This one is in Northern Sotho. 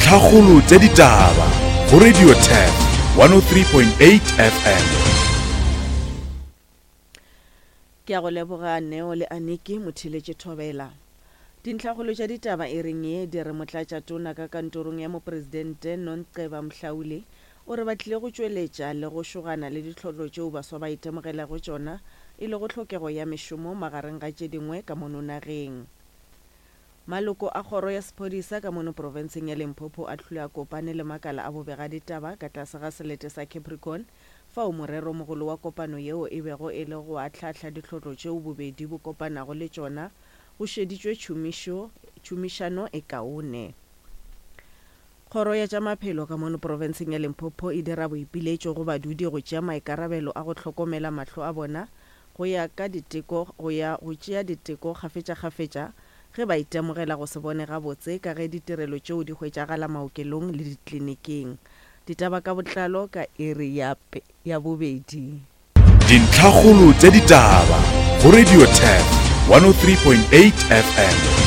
Dintlhakgolo tša ditaba go Radio Turf 103.8 FM. Ke a go leboga Neo le Aniki Motheeletše Thobela. Dintlhakgolo tša ditaba e reng ye di re Motlatšatona ka kantorong ya Mopresidente Nonceba Mhlauli o re ba tlile go tšweletša le go šogana le ditlhotlo tšeo baswa ba itemogelago tšona e lego tlhokego ya mešomo magareng ga tše dingwe ka mono nageng. Maloko a kgoro ya sephodisa ka mono profenseng ya Limpopo a hlile a kopane le makala a bobegaditaba ka tlase ga selete sa Capricorn fao morero mogolo wa kopano yeo e bego e le go ahlaahla dihlotlo tšeo bobedi bo kopanago le tšona go šeditšwe tšhomišo tšhomišano e kaone. Kgoro ya tša Maphelo ka mono profenseng ya Limpopo e dira boipiletšo go badudi go tšea maikarabelo a go hlokomela mahlo a bona go ya ka diteko go ya go tšea diteko kgafetšakgafetša ge ba itemogela go se bone gabotse ka ge ditirelo tšeo di hwetšagala maokelong le dikliniking. Ditaba ka botlalo ka iri ya ya bobedi. Dintlhakgolo tša ditaba go Radio Turf 103.8 FM.